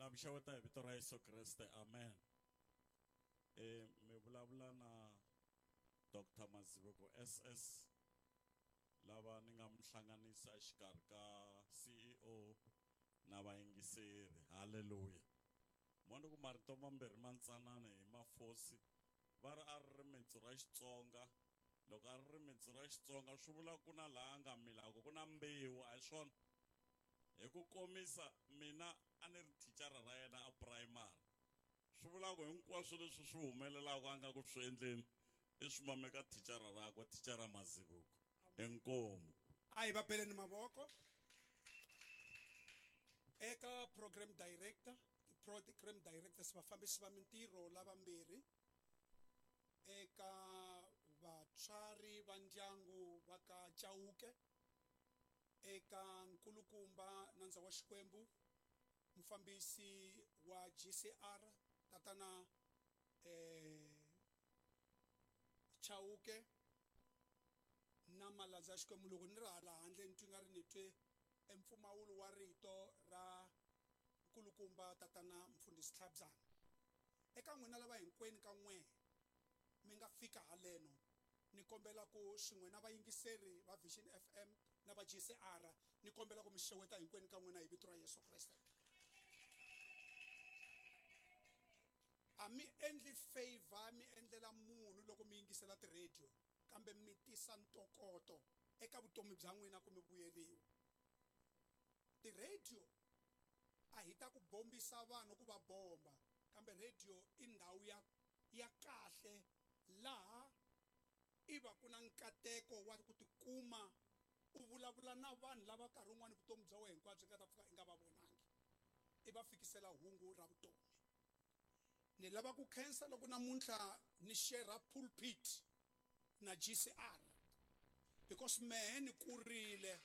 Na mi xeweta hi vito ra Yesu Kreste, amen. Mi vulavula na Dr. Mazibuko SS lava ni nga mi hlanganisa exikarhi ka CEO na vayingiseri. Haleluya. Moni ku marito mambirhi mantsanana hi mafosi va ri a ri rimitsu ra Xitsonga. Loko a ri rimitsu ra Xitsonga swi vula ku na laha nga milaka ku na mbewu, a hi swona? Hi ku komisa mina a ni ri thicara ra yena a primary. Swi vula ku hinkwaswo leswi swi humelelaka a nga ku swi endleni i swi mameka thicara rakwe, thicara Mazibuko. Inkomu. A hi va beleni mavoko eka program director, ti-program directors, vafambisi va mintirho lavambirhi, eka vatswari va ndyangu va ka Chauke, eka nkulukumba nandza wa Xikwembu, mufambisi wa GCR tatana Chauke na malandza ya Xikwembu. Loko ni ri hala handle ni twi nga ri ni twe empfumawulo wa rito ra nkulukumba tatana mfundhisi Tlhabyana. Eka n'wina lava hinkwenu ka n'we mi nga fika haleno, ni kombela ku swin'we na vayingiseri va Vision FM na va GCR, ni kombela ku mi xeweta hinkwenu ka n'wina hi vito ra Yesu Kreste. A mi endli favor mi endlela munhu loko mi yingisela ti-radio, kambe mi tisa ntokoto eka vutomi bya n'wina ku mi vuyeriwa. Ti-radio a hi ta ku bombisa vanhu ku va bomba, kambe radio i ndhawu ya kahle laha i va ku na nkateko wa ku tikuma u vulavula na vanhu lava nkarhi wun'wani vutomi bya wena hinkwabyo nga ta pfuka i nga va vonangi, i va fikisela hungu ra vutomi. Ni lava ku khensa loko namuntlha ni share pulpit na GCR because mehe ni kurile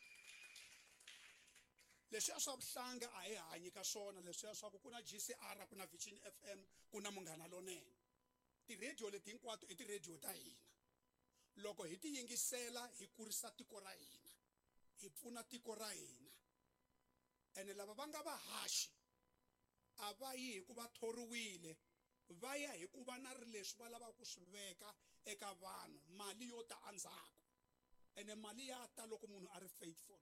leswiya swa vuhlanga a hi hanyi ka swona, leswiya swa ku ku na GCR, ku na Vision FM, ku na Munghana Lonene. Ti-radio leti hinkwato i ti-radio ta hina. Loko hi ti yingisela hi kurisa tiko ra hina, hi pfuna tiko ra hina. Ene lava va nga vahaxi a va yi hi ku va thoriwile, va ya hi ku va na ri leswi va lavaka ku swi veka eka vanhu, mali yo ta endzhaku. Ene mali ya ta loko munhu a ri faithful,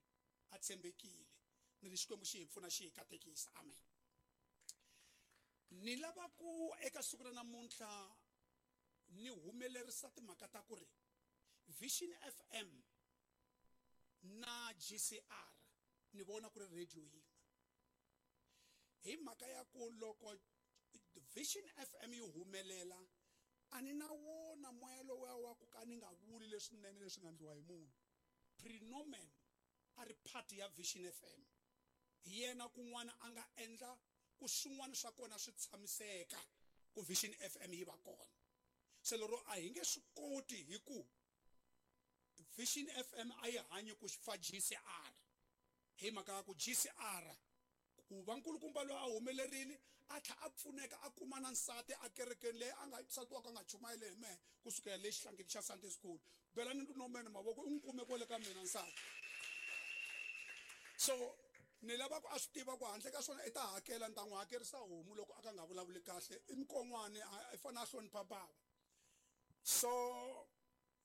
a tshembekile. Ni ri Xikwembu xi hi pfuna, xi hi katekisa. Amen. Ni lava ku eka siku ra namuntlha ni humelerisa timhaka ta ku ri Vision FM na GCR ni vona ku ri radio yin'we, hi mhaka ya ku loko Vision FM yi humelela a ni na wona moya lowuya wa ku ka ni nga vuli leswinene leswi nga endliwa hi munhu. Prenomen a ri part ya Vision FM, hi yena kun'wana a nga endla ku swin'wana swa kona swi tshamiseka ku Vision FM yi va kona. Se lero a hi nge swi koti hi ku Vision FM a yi hanyi ku fa GCR, hi mhaka ya ku GCR ku va nkulukumba loyi a humelerile a tlhela a pfuneka a kuma na nsati a kerekeni leyi a nga nsati wa ka a nga chumayeli hi mehe kusukela le xihlangeni xa Sunday school. Belani Ntomeni mavoko, u n'wi kume kwale ka mina nsati. So ni lava ku a swi tiva ku handle ka swona i ta hakela, ni ta n'wi hakerisa homu loko a ka nga vulavuli kahle. I mukon'wani, i fanele a hlonipha bava. So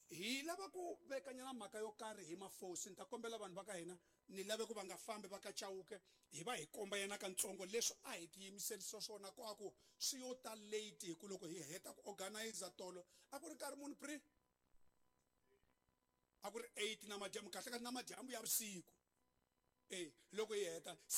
hi lava ku vekanyana mhaka yo karhi hi mafosi. Ni ta kombela vanhu va ka hina, ni lave ku va nga fambi va ka Chauke, hi va hi komba yena kantsongo leswi a hi tiyimiserisa swona ku a ku swi yo ta late, hi ku loko hi heta ku organizer tolo a ku ri nkarhi muni pre a ku ri 8 na madyambu, kahle kahle na madyambu ya vusiku. Loko hi heta.